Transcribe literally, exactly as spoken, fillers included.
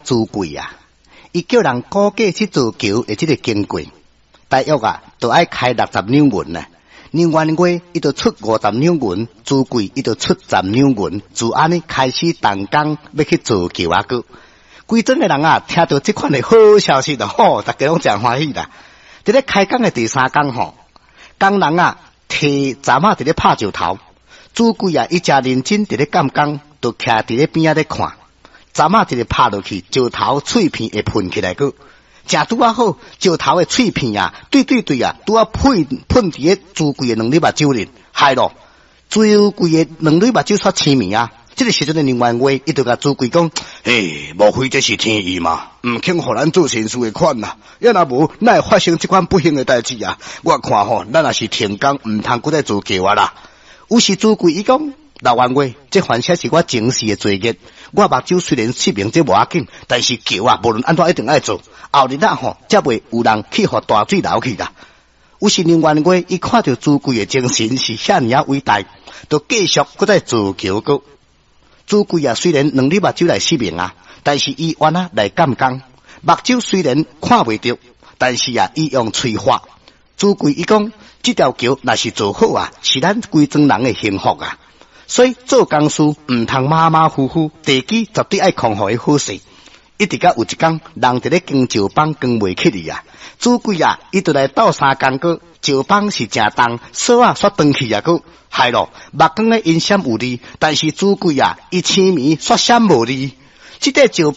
朱貴啊，伊叫人估計去造橋的這个經過，大約啊，就愛開六十兩銀啊。梁元月伊就出五十兩銀，朱貴伊就出十兩銀，就按呢開始動工欲去造橋啊！閣規莊的人啊，聽著這款的好消息就吼，逐家攏誠歡喜啦。佇咧開工的第三工吼，工人啊提鏨仔佇咧拍石頭，朱貴啊伊誠認真佇咧監工，就徛佇咧邊仔咧看，鏨仔一个拍落去，石頭碎片會噴起來閣。誠拄仔好，石頭的碎片啊，對對對啊，拄仔噴噴佇咧朱貴的兩粒目睭裡，害咯！朱貴的兩粒目睭煞青暝啊！這个時陣的梁元月，伊就共朱貴講：嘿，莫非這是天意嗎？毋肯予咱做善事的款啊！抑若無，哪會發生這款不幸的代誌啊？我看吼，咱若是停工，毋通閣再造橋啊啦！於是朱貴伊講：老元月，這反正是我前世的罪孽。我目睭雖然失明，這無要緊，但是橋啊，無論按怎一定愛做。後日啊吼，才袂有人去予大水流去啦。於是梁元月伊看著朱貴的精神是遐爾仔偉大，就繼續閣再造橋閣。朱貴啊，雖然兩粒目睭來失明啊，但是伊願仔來監工。目睭雖然看袂著，但是啊，伊用喙發。朱貴伊講，這條橋若是做好啊，是咱規莊人的幸福啊。所以做工事毋通馬馬虎虎，地基絕對愛控予伊好勢。一直到有一工，人佇咧扛石枋扛袂起去啊！朱貴啊，伊就來鬥相共閣，石枋是誠重，索仔煞斷去啊！閣害咯，目光咧因閃有力，但是朱貴啊，伊青暝煞閃無力。這塊石枋。